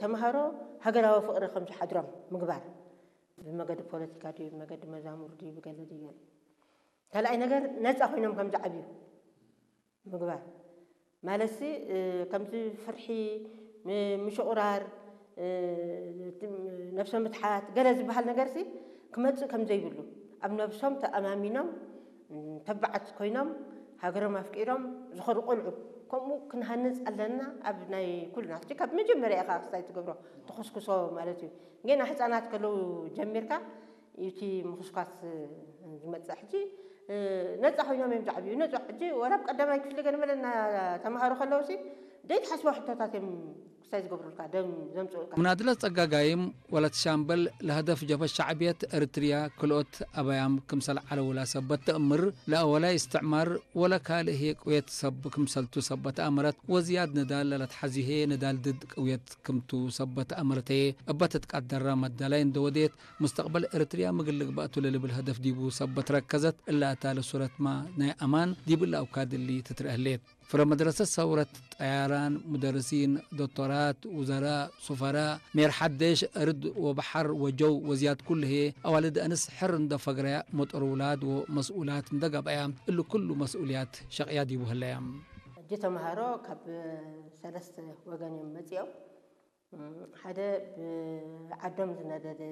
ተምሃሮ ሃገራዊ ፍቕሪ ከም ዝሓድሮም ምግባር፣ ብመገዲ ፖለቲካ ድዩ፣ ብመገዲ መዛሙር ድዩ፣ ብገለ ድዩ፣ ካልኣይ ነገር ነፃ ኮይኖም ከም ዝዓብዩ ምግባር። ማለትሲ ከምዚ ፍርሒ፣ ምሽቑራር፣ ነብሰ ምትሓት ገለ ዝበሃል ነገርሲ ክመፅእ ከም ዘይብሉ፣ ኣብ ነብሶም ተኣማሚኖም ተባዓት ኮይኖም ሃገሮም ኣፍቂሮም ዝኸዱ ቆልዑ ከምኡ ክንሃንፅ ኣለና። ኣብ ናይ ኩልና ሕጂ ካብ መጀመርያ ኢኻ ክስታይ ትገብሮ፣ ትኹስኩሶ ማለት እዩ። ገና ህፃናት ከለዉ ጀሚርካ እቲ ምኹስኳስ ዝመፅእ ሕጂ ነፃ ኮይኖም እዮም ዝዓብዩ። ነፃ ሕጂ ወላ ኣብ ቀዳማይ ክፍሊ ገለ መለ እና ተምሃሩ ከለውሲ ዘይትሓስቦ ሕቶታት እዮም ክስታይ ዝገብሩልካ፣ ደም ዘምፅኡልካ። مناضلة ጸጋጋይም ወለት ሻምበል ለሀደፍ ጀብሀት ሸዕብየት ኤርትርያ ክልኦት ኣበያም ክምሰል ዓለውላ ሰበት ተእምር ለአወላይ እስትዕማር ወለ ካልእ ህየ ቅውየት ሰብ ክምሰልቱ ሰበት ኣመረት ወዝያድ ንዳል ለለትሓዚሄ ንዳል ድድ ቅውየት ክምቱ ሰበት ኣመረተየ እበት ትቃደራ መዳላይ እንደወዴት ሙስተቅበል ኤርትርያ ምግል ልግባእቱ ለልብል ሀደፍ ዲቡ ሰበት ረከዘት እላ እታ ለሱረትማ ናይ ኣማን ዲብ እላ ኣውካድሊ ትትረአሌት። ፍረ መድረሰት ሰውረት ጠያራን፣ ሙደርሲን፣ ዶቶራት፣ ውዘራእ፣ ሱፈራእ፣ ሜር ሓደሽ፣ እርድ ወባሓር ወጀው ወዝያድ ኩሉ ህዬ ኣዋልድ ኣንስ ሕር እንዶ ፈግረያ ሞጦር ውላድ ወመስኡላት እንዶ ገብኣያ እሉ ኩሉ መስኡልያት ሸቕያ ዲቡ ህለያ። ሕጂ ተምሃሮ ካብ ሰለስተ ወገን እዮም መጺኦም። ሓደ ብዓዶም ዝነደደ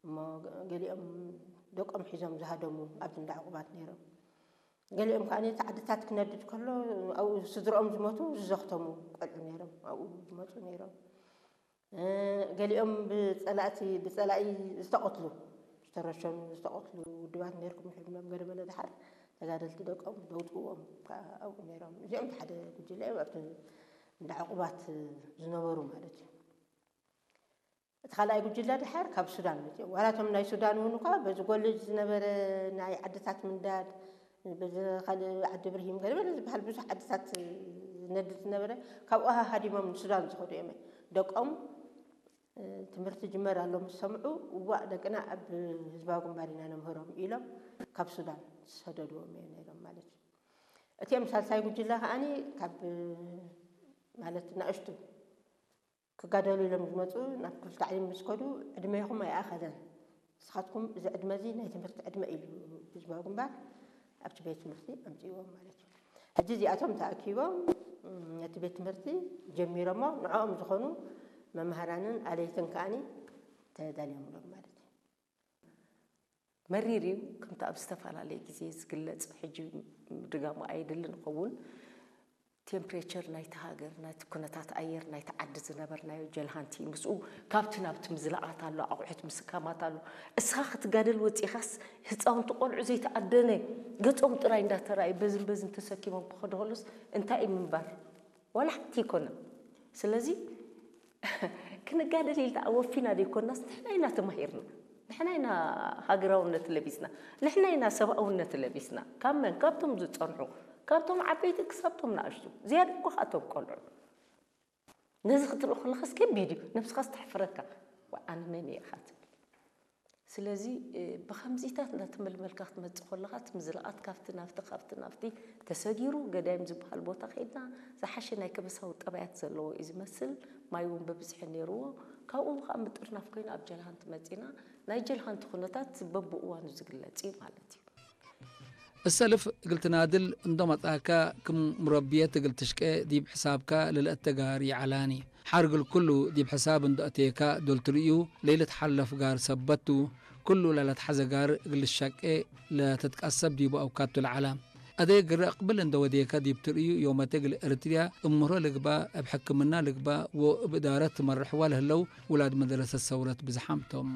እሞ ገሊኦም ደቆም ሒዞም ዝሃደሙ ኣብዚ እንዳ ዕቑባት ነይሮም። ገሊኦም ከኣ እቲ ዓድታት ክነድድ ከሎ ኣብኡ ስድርኦም ዝሞቱ ዝዘኽተሙ ቆልዑ ነይሮም፣ ኣብኡ ዝመፁ ነይሮም። ገሊኦም ብፀላእቲ ብፀላኢ ዝተቐትሉ ዝተረሸኑ ዝተቐትሉ ውድባት ነይርኩም ይሕብሎም። ገለ መለ ድሓር ተጋደልቲ ደቆም ዘውፅእዎም ከዓ ኣብኡ ነይሮም። እዚኦም ሓደ ጉጅለ እዮም ኣብቲ እንዳ ዕቑባት ዝነበሩ ማለት እዩ። እቲ ካልኣይ ጉጅለ ድሓር ካብ ሱዳን መፅኦም። ዋላ እቶም ናይ ሱዳን እውን እኳ በዚ ጎልጅ ዝነበረ ናይ ዓድታት ምንዳድ፣ በዚ ካልእ ዓዲ ብርሂም ገለ ዝበሃል ብዙሕ ዓድታት ዝነድድ ዝነበረ፣ ካብኡ ሃዲሞም ንሱዳን ዝኸዱ እዮም። ደቆም ትምህርቲ ጅመር ኣሎ ምስ ሰምዑ፣ እዋእ ደቅና ኣብ ህዝባዊ ግንባር ኢና ነምህሮም ኢሎም ካብ ሱዳን ዝሰደድዎም እዮም ነይሮም ማለት እዩ። እቲኦም ሳልሳይ ጉጅለ ከዓኒ ካብ ማለት ናእሽቱ ክጋደሉ ኢሎም ዝመፁ ናብ ክፍሊ ታዕሊም ምስ ከዱ ዕድሜኹም ኣይኣኸለን፣ ንስኻትኩም እዚ ዕድመ እዚ ናይ ትምህርቲ ዕድመ ኢሉ ህዝባዊ ግንባር ኣብቲ ቤት ትምህርቲ ኣምፅእዎም ማለት እዩ። ሕጂ እዚኣቶም ተኣኪቦም ነቲ ቤት ትምህርቲ ጀሚሮሞ ንዕኦም ዝኾኑ መምሃራንን ኣለይትን ከዓኒ ተዳልዮምሎም ማለት እዩ። መሪር እዩ። ከምቲ ኣብ ዝተፈላለየ ግዜ ዝግለጽ ሕጂ ምድጋሙ ኣየድልን ይኸውን። ቴምፕሬቸር ናይቲ ሃገር ናይቲ ኩነታት ኣየር ናይቲ ዓዲ ዝነበርናዮ ጀልሃንቲ ምስኡ ካብቲ ናብቲ ምዝላቓት ኣሎ ኣቑሑት ምስካማት ኣሎ። እስኻ ክትጋደል ወጺኻስ ህፃውንቲ ቆልዑ ዘይተኣደነ ገጾም ጥራይ እንዳተራእየ በዝን በዝን ተሰኪሞም ክኸዱ ከሎስ እንታይ እዩ ምንባር? ዋላ ሓንቲ ኣይኮነን። ስለዚ ክንጋደል ኢልና ወፊና ዘይኮናስ ንሕና ኢና ተማሂርና፣ ንሕና ኢና ሃገራውነት ለቢስና፣ ንሕና ኢና ሰብኣውነት ለቢስና። ካብ መን? ካብቶም ዝጸንሑ፣ ካብቶም ዓበይቲ ክሳብቶም ንኣሽቱ፣ ዝያዳ እኮ ካብቶም ቆልዑ። ነዚ ክትርኢ ከለኻስ ከቢድ እዩ፣ ነብስኻስ ተሕፍረካ። ዋይ ኣነ መን እየ ኢኻ ትብል። ስለዚ ብኸምዚታት እናተመልመልካ ክትመፅእ ከለኻ እቲ ምዝላቓት ካብቲ ናብቲ ካብቲ ናብቲ ተሰጊሩ ገዳይም ዝበሃል ቦታ ከይድና ዝሓሸ ናይ ከበሳዊ ጠባያት ዘለዎ እዩ ዝመስል። ማይ እውን በብዝሒ ነይርዎ። ካብኡ ከዓ ምጥርናፍ ኮይኑ ኣብ ጀልሃንቲ መፂና ናይ ጀልሃንቲ ኩነታት በብእዋኑ ዝግለፅ እዩ ማለት እዩ። እሰልፍ እግል ትናድል እንዶ መጻካ ክም ሙረብየት እግል ትሽቄ ዲብ ሕሳብካ ለልአተጋር ይዓላኒ። ሓር እግል ኩሉ ዲብ ሕሳብ እንዶ እቴካ ዶል ትርእዩ ለይልትሓለፍ ጋር ሰበት ቱ። ኩሉ ለለትሓዘ ጋር እግል ትሸቄ ለትትቀሰብ ዲቡ አውካቱ ለዓላ። አደይ ግረ እቅብል እንዶ ወዴከ ዲብ ትርእዩ ዮመት እግል እርትርያ እብ ምህሮ ልግባእ እብ ሕክምና ልግባእ ወእብ እዳረት ትመርሕዋ ለህለው ውላድ መደረሰት ሰውረት ብዝሓም ቶም።